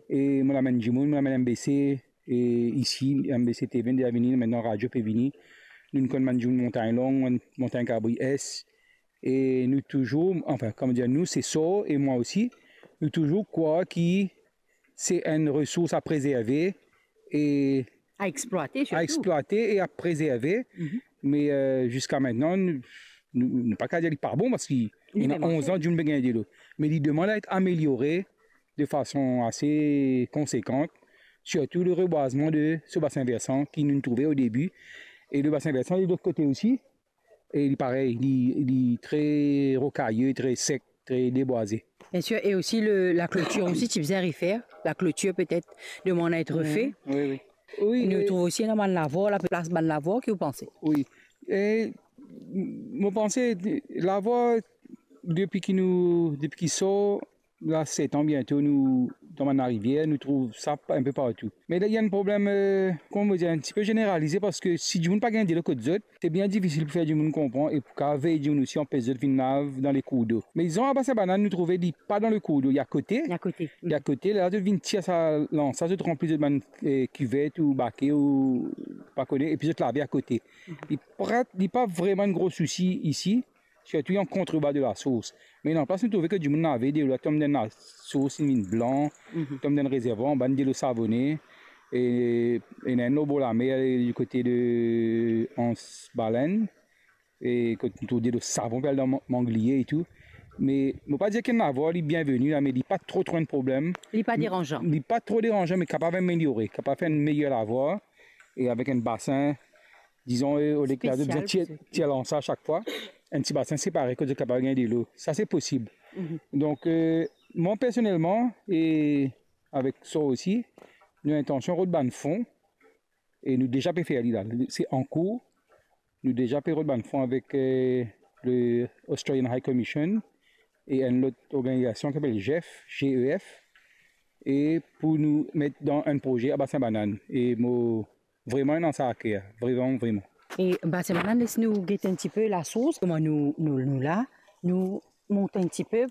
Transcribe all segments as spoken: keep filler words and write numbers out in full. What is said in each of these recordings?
E mo amenn dimoun, mo amenn M B C, e isi, M B C TV inn deza vini, aster radio pe vini. Nou konn bann dimoun Montagne Longue, Mont-, Montagne Cabri Est. E nou touzour, anfin, kouma dir, nou, se Sor e mwa osi, nou touzour krwar ki se enn resours a prezerve e a eksplwate, a sirtou eksplwate e a prezerve. Mhm. Me, eh, ziska aster, nou, nou, nou pa kapav dir li pa bon, parski li ena onz an dimoun pe gagn delo. Me li demann a et ameliore de fason ase konsekan, sirtou le rebwazman de so basin versan ki nou trouve o debi. E le basin versan, li lot kote osi, e li parey, li, li tre rokaye, tre sek, tre debwaze. Bien sir, e osi le, la klotir osi, ti bizin refer. La klotir petet demann a et refe. Wi, wi. Wi, nou trouv osi ena bann lavwar, la pe plas bann lavwar, ki ou panse? Wi. E, m-, mo panse, lavwar, depi ki nou, depi ki Sor, la set an biento, nou dan bann larivier, nou trouv sa pa-, enpe partou. Me la, ena enn problem, eh, kouma mo dir, enn tipe zeneralize, parski si dimoun pa gagn delo kot zot, se bien difisil pou fer dimoun konpran e pou kapav vey dimoun osi, anpes zot vinn lav dan le kourdo. Me dizon, a Basin Banann, nou trouve li pa dan le kourdo, li akote. Li akote. Li akote, la zot vinn tir sa lans la, zot ranpli zot bann, eh, kivet ou bake ou pa kone, epi zot lave akote. Mhm. Li pa, li pa vreman enn gro sousi isi, sirtou an kontrebar de lasours. Me nanplas, nou trouve ki dimoun lave, delo la tom dan lasours, li vinn blan, mhm, tom dan rezervwar, anba enn delo savone, e, e ena enn lor bor lamer, e, di kote de Anse Baleine, e kot nou trouv delo savon pe al dan man-, mangliye e tou. Me mo pa dir ki enn lavwar li bienveni la, me li pa tro, tro enn problem. Li pa deranzan. Li pa tro deranzan, me kapav ameliore, kapav fer enn meyer lavwar, e avek enn basin, dizon, eh, olie ki la zot bizin tir, tir lans la sak fwa, enn ti basin separe kot zot kapav gagn delo. Sa se posib. Mhm. Donk, eh, mwa personelman, e avek Sor osi, nou intansion rod bann fon, e nou deza pe fer li la. Se ankour, nou deza pe rod bann fon avek, eh, le Australian High Commission e enn lot organizasion ki apel GEF, G E F, e pou nou met dan enn proze a Basin Banann. E mo vreman ena sa aker, vreman, vreman. E Basin Banann, les nou get enn tipe lasours, kouma nou, nou, nou la, nou mont enn tipe,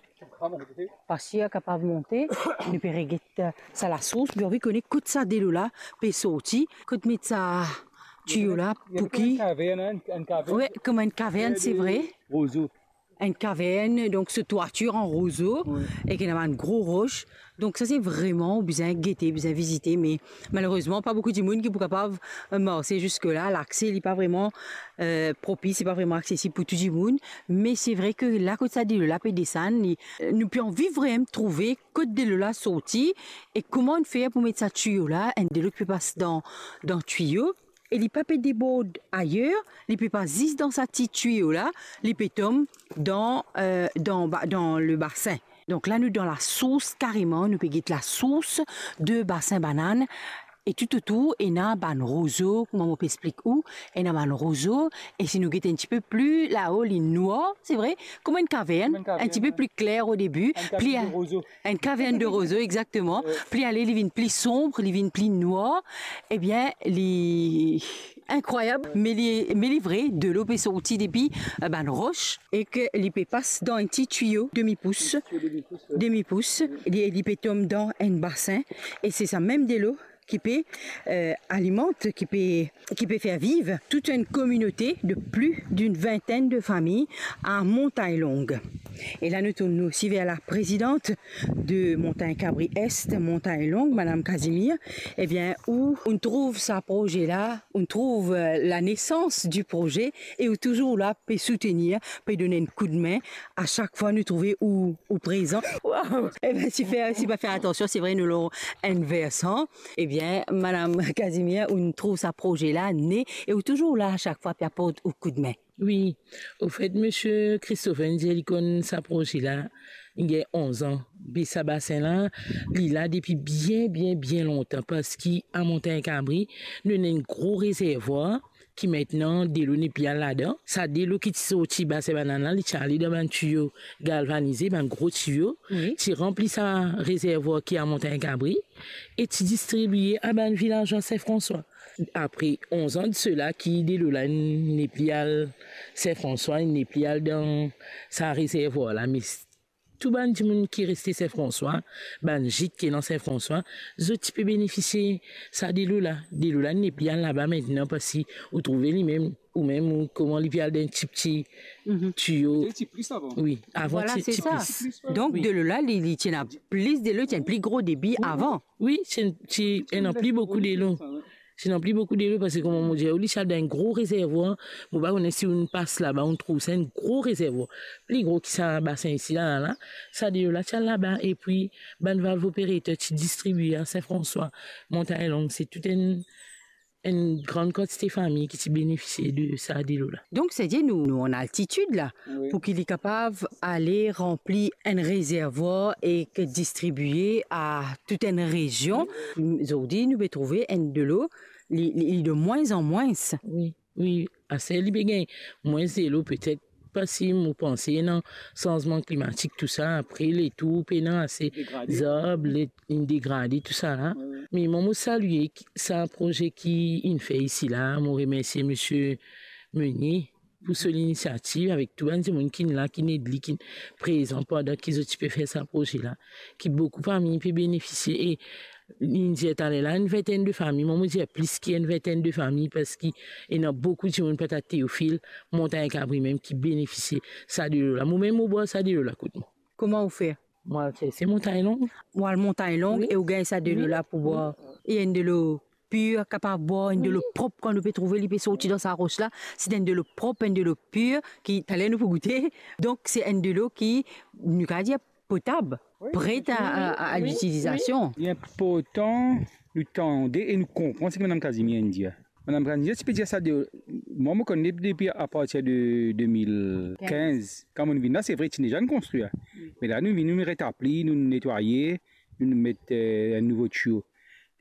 pa sir kapav monte, nou pe reget, eh, sa lasours, nou anvi kone kot sa delo la pe sorti, kot met sa tiyo la, pou ki... Enn kavern, enn, enn kavern. Wi, kouma enn kavern, se vre. Rozo. Enn kavern, donk so twatir an rozo, wi, e ki ena bann gro ros. Donk sa se vreman, ou bizin gete, bizin vizite, me malerezman, pa boukou dimoun ki pou kapav, eh, marse ziska la. Lakse, li pa vreman, eh, propis, li pa vreman aksesib pou tou dimoun. Me se vre ki la kot sa delo la pe desann, li, eh, nou pe anvi vreman trouve kot delo la sorti e kouma nou fer pou met sa tiyo la, enn delo ki pe pas dan, dan tiyo, e li pa pe debord ayer, li pe pas zis dan sa ti tiyo la, li pe tom dan, eh, dan ba-, dan le basin. Donk la, nou dan lasours kareman, nou pe get lasours de Basin Banann. E toutotour, ena bann rozo, kouma mo pe explik ou, ena bann rozo, e si nou get enn tipe pli lao, li nwar, se vre, kouma enn kavern, kouma enn kavern, enn tipe, wi, pli kler o debi, enn kavern, pli de rozo. Enn kavern de rozo, exakteman. Wi. Pli ale, li vinn pli sonb, li vinn pli nwar. Ebien, li inkrwayab, me li, me li vre, delo pe sorti depi, eh, bann ros, e ki li pe pas dan enn ti tiyo demi pous. Tiyo demi pous, wi. Demi pous, li, li pe tom dan enn basin, e se sa mem delo ki pe, eh, alimant, ki pe, ki pe fer viv tout enn kominote de plis d'une vingtaine de familles à Montagne Longue. E la, nou tourn nou osi ver la présidente de Montagne Cabri Est, Montagne Longue, Madame Casimir. Ebien, ou, ou trouv sa proze la, ou trouv, eh, la naissance du projet, e ou touzour la pe soutenir, pe donn enn koudme a sak fwa nou trouve ou, ou prezan. Waw! Ebien, si fer, si pa fer atansion, se vre, nou lor enn versan. Ebien, Madame Casimir, ou trouv sa proze la ne, e ou touzour la a sak fwa pe aport ou koudme. Wi, anfet, misie Christopher inn dir li konn sa proze la, li gagn onz an. Be sa basin la, li la depi bien, bien, bien lontan, parski a Montagne Cabri, nou ena enn gro rezervwar ki aster delo nepli al ladan. Sa delo ki ti sorti Basin Banann la, li ti ale dan bann tiyo galvanize, bann gro tiyo, wi, ti ranpli sa rezervwar ki a Montagne Cabri, e ti distribie a bann vilazwa Saint-François. Apre onz an de sela ki delo la nepli al Saint-François, nepli al dan sa rezervwar la, me tou bann dimoun ki reste Sin Franswa, bann gîte ki ena Sin Franswa, zot ti pe benefisie sa delo la. Delo la nepli al laba aster, parski ou trouve limem, ou mem, ou koman li pe al dan enn ti, ti tiyo. Ti plis avan. Wi, avan ti plis. Donk, delo la, li, li ti ena plis delo, ti ena pli gro debi avan. Wi, ti, ti ena pli boukou delo. Ti ena pli boukou delo, parski kouma mo dir ou, li ti al dan enn gro rezervwar. Mo pa kone si ou'nn pas laba, ou'nn trouv sa, enn gro rezervwar. Pli gro ki sa basin isi la, la. Sa delo la ti al laba, epi bann valve operater ti distribie a Sin Franswa, Montagn Long, se tou enn, enn gran kantite fami ki ti benefisie de sa delo la. Donk, se dir nou, nou an altitid la, pou ki li kapav ale ranpli enn rezervwar ek distribie a tou enn rezion. Zordi, nou pe trouve enn delo, li, li, li de mwins an mwins. Wi, wi, aster li pe gagn mwins delo, petet parski mo panse ena sanzman klimatik, tou sa, apre letour pena ase zarb, le, inn degrade, tou sa la. Me mwa, mo salie ki, sa proze ki inn fer isi la, mo remersie misie Meunier pou so linisiativ, avek tou bann dimoun ki la, ki ed li, ki prezan pandan ki zot ti pe fer sa proze la, ki boukou fami pe benefisie. E li dir taler la, enn vintenn de fami, mwa mo dir plis ki enn vintenn de fami, parski ena boukou dimoun, Pata Teofil, Montagn Kabri mem, ki benefisie sa delo la. Mo mem mo bwar sa delo la kot mwa. Kouma ou fer? Mo al serse Montagn Long. Ou al Montagn Long e ou gagn sa delo la pou bwar. E enn delo pir, kapav bwar, enn delo prop, kan nou pe trouve li pe sorti dan sa ros la, se enn delo prop, enn delo pir, ki taler nou pou goute. Donk, se enn delo ki, nou kapav dir, potab, pre a, a, a litilizasion. Li inportan nou tande e nou konpran seki Madam Casimir inn dir. Madam Casimir ti pe dir sa de, mwa, mo konn li depi apartir de de mil kinz. Kan mo'nn vinn la, se vre, ti deza inn konstrir. Me la, nou vinn, nou retabli, nou netwaye, nou met, eh, enn nouvo tiyo.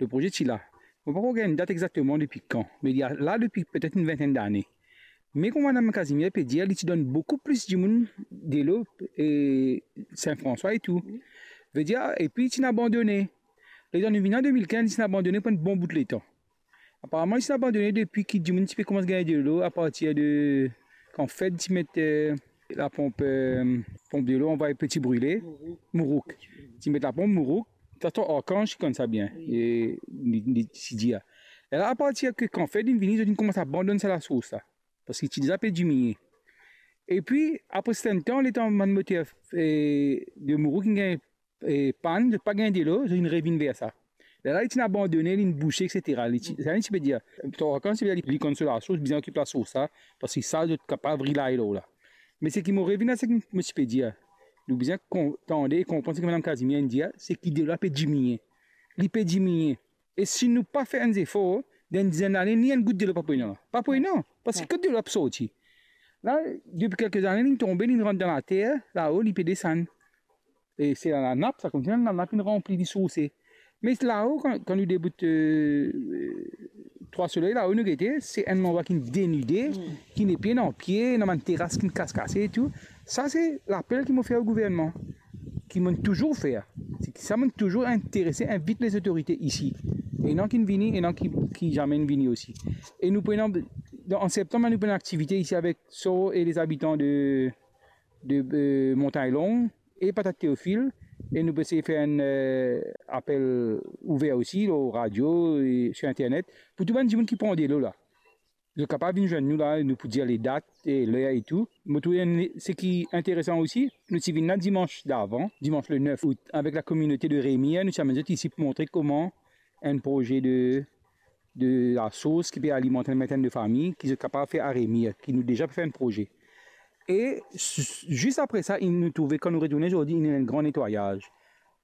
Le proze ti la. Mo pa ankor gagn dat exakteman depi kan, me li la depi petet enn vintenn dane. Me kouma Madam Casimir pe dir, li ti donn boukou plis dimoun delo, e Sin Franswa e tou. Vedir, epi li ti inn abandone. Letan nou vinn an de mil kinz, li ti inn abandone pou enn bon bout letan. Aparaman, li ti inn abandone depi ki dimoun ti pe koumans gagn delo apartir de kan Fed ti met, eh, laponp, eh, ponp delo, anvway Petit Brûlé, Mourouk. Ti met laponp Mourouk, sa Arkanz ki konn sa bien, e li, li ti dir. E la, apartir ki kan Fed inn vini, zot inn koumans abandonn sa lasours la, parski ti deza pe diminie. Epi, apre serten tan, letan bann moter, eh, de Mourouk inn gagn, eh, pann, zot pa gagn delo, zot inn revinn ver sa. Lerla li ti inn abandone, li inn bouse, etsetera. Li ti, sa li ti pe dir, Arkanz ti pe dir li, li konn so lasours, bizin okip lasours sa, parski sa zot kapav rilay lor la. Me seki mo revinn a seki mo ti pe dir, nou bizin kon-, tande e konpran seki Madam Casimir inn dir, seki delo la pe diminie. Li pe diminie. E si nou pa fer enn zefor, dan enn dizenn lane, ni enn gout delo pa pou ena. Pa pou ena, parski kot delo la pou sorti? La, depi kelke zane, li tonbe, li rant dan later, lao, li pe desann. E se la, lanap, sa koumsi lanap inn ranpli, li sourse. Me lao, kan, kan nou debout, eh, Trwa Soley, lao nou gete, se enn landrwa ki inn denide, ki nepli ena pie, ena bann teras ki inn kas kase e tou. Sa se lapel ki mo fer o gouvernman, ki mo'nn touzour fer. Se ki sa mo'nn touzour interese, invit lezotorite isi. Ena ki'nn vini, ena ki, ki zame inn vini osi. E nou pou ena, dan, an septanm, nou pou ena aktivite isi avek Soro e lezabitan de, de, eh, Montagn Long e Patat Teofil, e nou pe seye fer enn, eh, apel ouver osi lor radio e sir internet pou tou bann dimoun ki pran delo la. Zot kapav vinn zwenn nou la, nou pou dir ledat e ler e tou. Mo trouve enn, seki interesan osi, nou ti vinn la dimans davan, dimans le nef out, avek lakominote de Remire, nou ti amenn zot isi pou montre koman enn proze de, de lasours ki pe alimant enn vintenn de fami, ki zot kapav fer a Remire, ki nou deza pe fer enn proze. E s-, zis apre sa, inn, nou trouve, kan nou retourne zordi, inn ena enn gran netwayaz.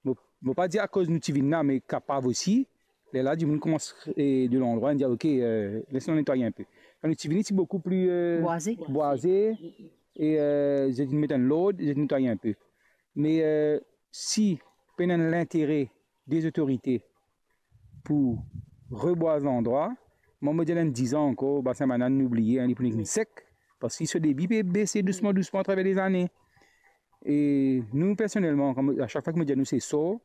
Mo, mo pa dir akoz nou ti vinn la, me kapav osi, lerla dimoun koumans, eh, de landrwa, inn dir, "Ok, eh, les nou netwaye inpe." Kan nou ti vini, ti boukou pli, eh, bwaze. Bwaze, e, eh, zot inn met enn lord, zot inn netwaye inpe. Me, eh, si pena enn lintere de zotorite pou rebwaz landrwa, mwa, mo dir, dan dizan ankor, Basin Banann, nou bliye, hein, li pou nek sek, parski so debi pe bese dousman, dousman atraver lezane. E nou, personelman, kan mo, a sak fwa ki mo dir nou se Soro,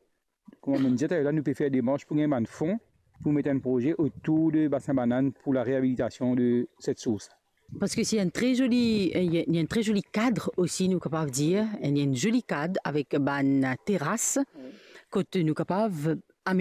kouma mo'nn dir taler la, nou pe fer demars pou gagn bann fon pou met enn proze otour de Basin Banann pou lareabilitasion de set sours. Parski c'est un très joli, euh, il y a, il y a un très joli cadre aussi, nou kapav dir, il y a un joli cadre avec bann teras, kot nou kapav